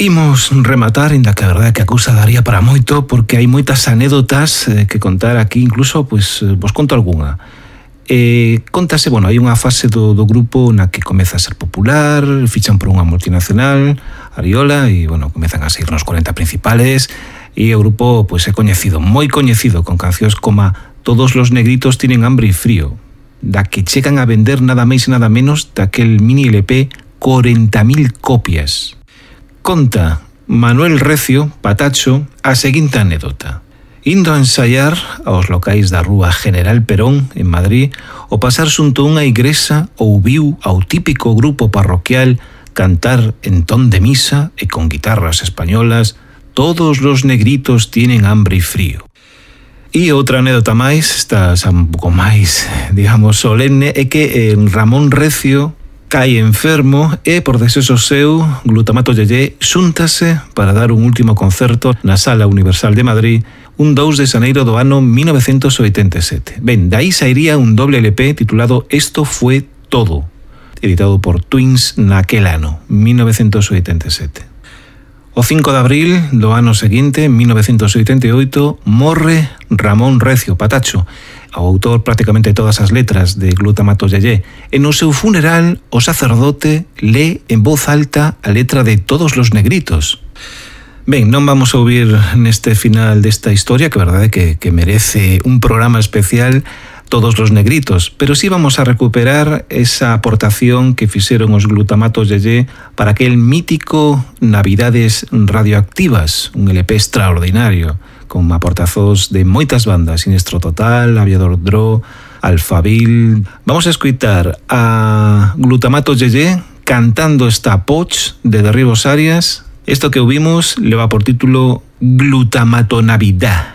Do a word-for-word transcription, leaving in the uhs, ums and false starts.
Imos rematar, inda que a verdade é que a cousa daría para moito, porque hai moitas anécdotas eh, que contar aquí, incluso, pois, pues, vos conto algunha. Eh, contase, bueno, hai unha fase do, do grupo na que comeza a ser popular, fichan por unha multinacional, Ariola, e, bueno, comezan a seguir nos corenta principales, e o grupo, pois, pues, é coñecido, moi coñecido, con cancións como Todos los negritos tienen hambre y frío, da que chegan a vender nada máis e nada menos daquel mini L P corenta mil copias. Conta Manuel Recio, Patacho, a seguinte anécdota. Indo a ensaiar aos locais da rúa General Perón, en Madrid, o pasar xunto unha igrexa ouviu ao típico grupo parroquial cantar en ton de misa e con guitarras españolas Todos los negritos tienen hambre y frío. E outra anécdota máis, esta xa un pouco máis, digamos, solemne, é que en Ramón Recio cae enfermo e, por desexo seu, Glutamato Yeye xúntase para dar un último concerto na Sala Universal de Madrid un dous de xaneiro do ano mil novecientos oitenta e sete. Ben, dai sairía un doble L P titulado Esto fue todo, editado por Twins naquel ano, mil novecientos oitenta e sete. O cinco de abril do ano seguinte, mil novecientos oitenta e oito, morre Ramón Recio, Patacho, o autor prácticamente de todas as letras de Glutamato Yeye. E no seu funeral, o sacerdote lee en voz alta a letra de Todos los negritos. Ben, non vamos a ouvir neste final desta historia, que a verdade é que, que merece un programa especial, Todos los negritos, pero sí vamos a recuperar esa aportación que fixeron os Glutamato Yeye para aquel mítico Navidades Radioactivas, un L P extraordinario, con aportazos de moitas bandas, Sinestro Total, Aviador Dro, Alphaville. Vamos a escutar a Glutamato Yeye cantando esta Poch de Derribos Arias. Esto que ouvimos leva por título Glutamato Navidad.